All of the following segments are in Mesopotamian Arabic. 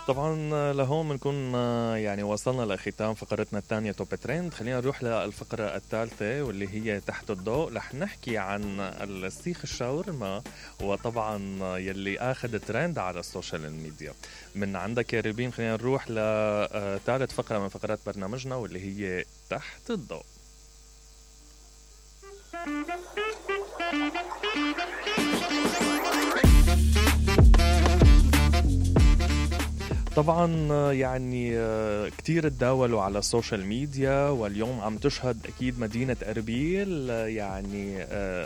طبعا لهون بنكون يعني وصلنا لختام فقرتنا الثانية توب ترند. خلينا نروح للفقرة الثالثة واللي هي تحت الضوء. رح نحكي عن السيخ الشاورما، وطبعا يلي اخذ ترند على السوشيال ميديا. من عندك يا ريبين خلينا نروح لثالث فقرة من فقرات برنامجنا واللي هي تحت الضوء. طبعا يعني كتير تداولوا على السوشيال ميديا، واليوم عم تشهد أكيد مدينة أربيل يعني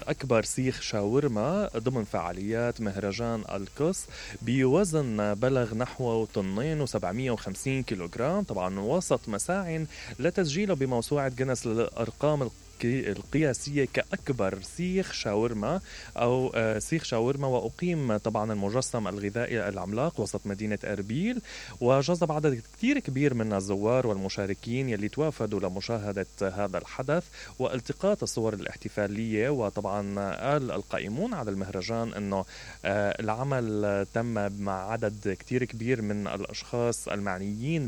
أكبر سيخ شاورما ضمن فعاليات مهرجان القص بوزن بلغ نحو 2.750 كيلوغرام، طبعا وسط مساع لتسجيله بموسوعة جينيس للأرقام القياسية كأكبر سيخ شاورما أو سيخ شاورما. وأقيم طبعا المجسم الغذائي العملاق وسط مدينة أربيل، وجذب عدد كتير كبير من الزوار والمشاركين يلي توافدوا لمشاهدة هذا الحدث والتقاط الصور الاحتفالية. وطبعا قال القائمون على المهرجان أنه العمل تم مع عدد كتير كبير من الأشخاص المعنيين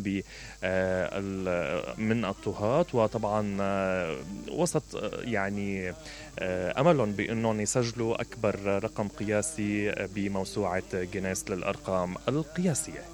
من الطهاة، وطبعا وسط يعني أملهم بأنهم يسجلوا أكبر رقم قياسي بموسوعة جينيس للأرقام القياسية.